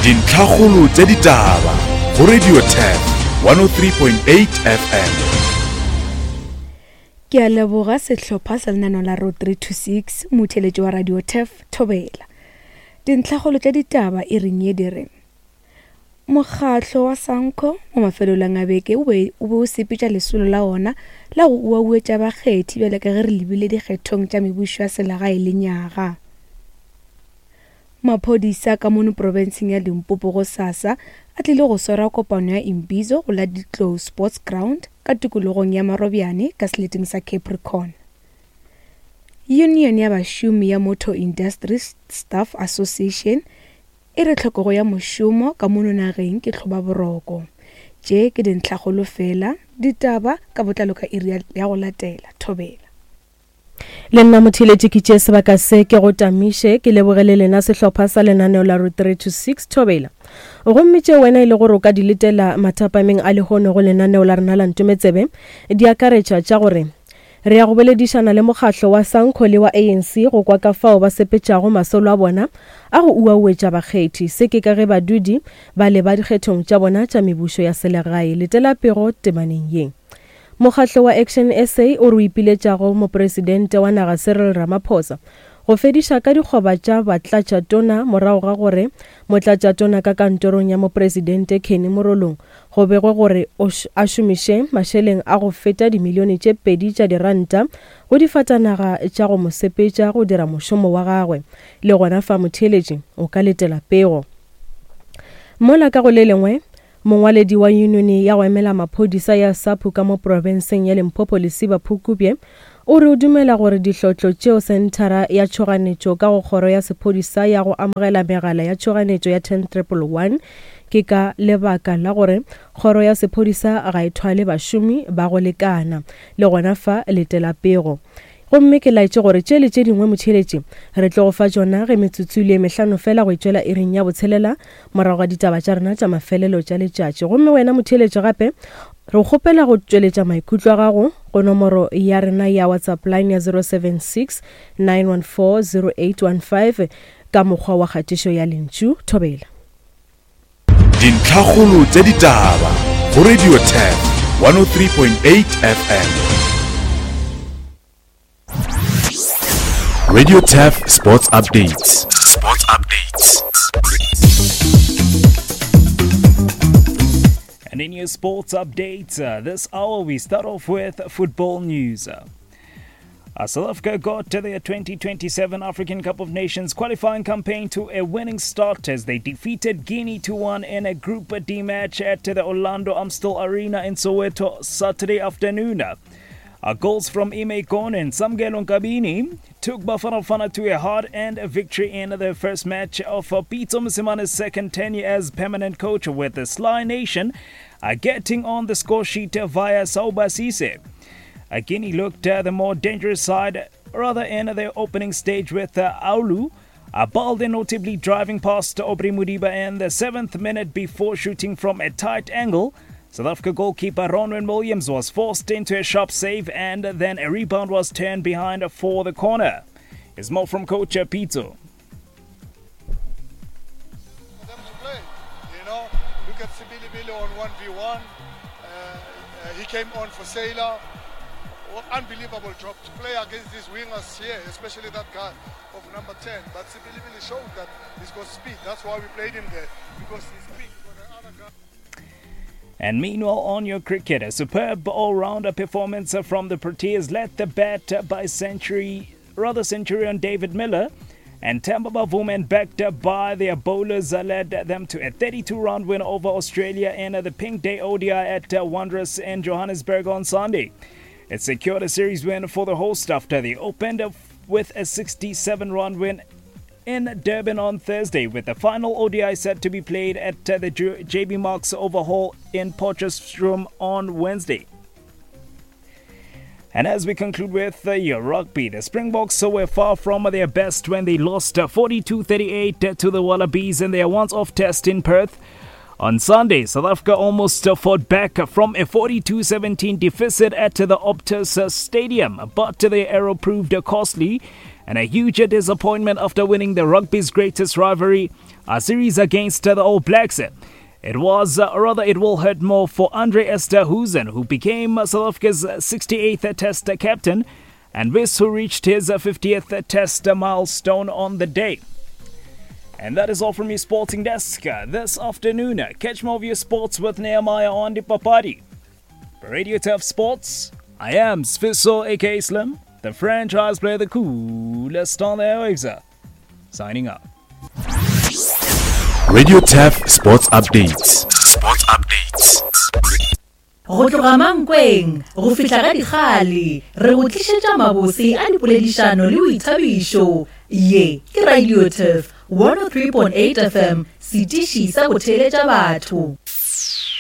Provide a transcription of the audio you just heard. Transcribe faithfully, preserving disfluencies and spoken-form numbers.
Dintlhakgolo tša ditaba go Radio Turf one oh three point eight F M. Ke a leboga sehlopha sa lenaneo la Road three two six, motheletši wa Radio Turf Thobela. Dintlhakgolo tša ditaba e reng ye di re mokgatlo wa Sanco mo mafelelong a beke o be o be o sepetša lesolo la ona la go uauetša bakgethi bjale ka ge re lebile dikgethong tša mebušo ya selegae le nyaga. Maphodisa ka mono profenseng ya Limpopo go sasa a tlile go swara kopano ya Imbizo go la Ditlou Sports Ground ka tikologong ya Marobjane ka seleteng sa Capricorn. Union ya bašomi ya Motor Industry Staff Association e re tlhokego ya mošomo ka mono nageng ke tlhobaboroko. Tše ke dintlhakgolo fela, ditaba ka botlalo ka iri ya go latela. Thobela. Le nna motheeletši ke tšee sebaka se ke go tamiše ke lebogele lena sehlopha sa lenaneo la Road three two six Thobela. Gomme tše wena e le gore o ka di letela mathapameng a lehono go lenaneo la rena la Ntometsebe di akaretša tša gore re ya go boledišana le mokgatlo wa Sanco le wa A N C go kwa ka fao ba sepetšago masolo a bona a go uauetša bakgethi. Se ke ka ge badudi ba leba dikgethong tša bona tša mebušo ya selegae. Letela pego temaneng ye. Mokgatlo wa Action S A o re o ipiletšago mopresidente wa naga Cyril Ramaphosa go fediša ka dikgoba tša batlatšatona morago ga gore motlatšatona ka kantorong ya mopresidente Kenny Morolong go begwe gore a šomiše mašeleng a go feta dimilione tše pedi tša diranta go difatanaga tša go mo sepetša go dira mošomo wa gagwe. Le gona fa motheeletši o ka letela pego. Mola ka go le lengwe, mongwaledi wa union ya go emela maphodisa ya SAPU ka mo profenseng ya Limpopo Lesiba Phukubye o re o dumela gore dihlotlo tšeo senthara ya tšhoganetšo ka go kgoro ya sephodisa ya go amogela megala ya tšhoganetšo ya ten triple one ke ka lebaka la gore kgoro ya sephodisa ga e thwale bašomi ba go lekana. Le gona fa letela pego. Gomme ke laetše gore tše le tše dingwe motheeletši re tlo go fa tšona ge metsotso le mehlano fela go itšwela iring ya botshelela morago ga ditaba tša rena tša mafelelo tša letšatši. Gomme wena motheeletši gape re kgopela go tšweletša maikutlo a gago go nomoro ya rena ya WhatsApp line ya zero seven six nine one four zero eight one five ka mokgwa wa kgatišo ya lentšu. Thobela. Dintlhakgolo tša ditaba go Radio Turf one oh three point eight F M. Radio Turf Sports Updates. Sports Updates. And in your sports updates, uh, this hour we start off with football news. Uh, South Africa got to their twenty twenty-seven African Cup of Nations qualifying campaign to a winning start as they defeated Guinea two one in a Group D match at the Orlando Amstel Arena in Soweto Saturday afternoon. Uh, goals from Ime Kone and Samgelo Nkabini took Bafana Bafana to a hard-earned victory in the first match of uh, Pitso Mosimane's second tenure as permanent coach, with the Sly Nation uh, getting on the score sheet via Sauba Cisse. Uh, Guinea looked uh, the more dangerous side rather in their opening stage with uh, Aulu uh, Balde notably driving past Aubrey Mudiba in the seventh minute before shooting from a tight angle. South Africa goalkeeper Ronwen Williams was forced into a sharp save, and then a rebound was turned behind for the corner. It's more from Coach Pitso. For them to play, you know, look at Sibilibili on one v one. Uh, uh, he came on for Sailor. Well, unbelievable job to play against these wingers here, especially that guy of number ten. But Sibilibili showed that he's got speed. That's why we played him there, because he's quick for the other guy. And meanwhile, on your cricket, a superb all-rounder performance from the Proteas led the bat by century, rather Centurion David Miller, and Temba Bavuma, backed up by their bowlers, led them to a thirty-two round win over Australia in the Pink Day O D I at Wanderers in Johannesburg on Sunday. It secured a series win for the host after they opened up with a sixty-seven run win in Durban on Thursday, with the final O D I set to be played at the J B Marks Overhaul in Potchefstroom on Wednesday. And as we conclude with uh, your rugby, the Springboks were far from their best when they lost forty-two thirty-eight to the Wallabies in their once-off test in Perth. On Sunday, South Africa almost fought back from a forty-two seventeen deficit at the Optus Stadium, but the error proved costly And a huge disappointment after winning the rugby's greatest rivalry, a series against the All Blacks. It was, uh, rather, it will hurt more for Andre Esterhuizen, who became South Africa's sixty-eighth Test captain, and Wiss, who reached his fiftieth Test milestone on the day. And that is all from your sporting desk this afternoon. Catch more of your sports with Nehemiah on the Papadi. For Radio Turf Sports, I am Sfiso, aka Slim, the franchise player, the coolest on the airwaves. Signing up. Radio Turf Sports Updates. Sports Updates. Go tloga Mankweng go fihla ga Dikgale, re go tlišetša mabose a dipoledišano le boithabišo. Ye ke Radio Turf one oh three point eight F M, setiši sa go theeletša batho.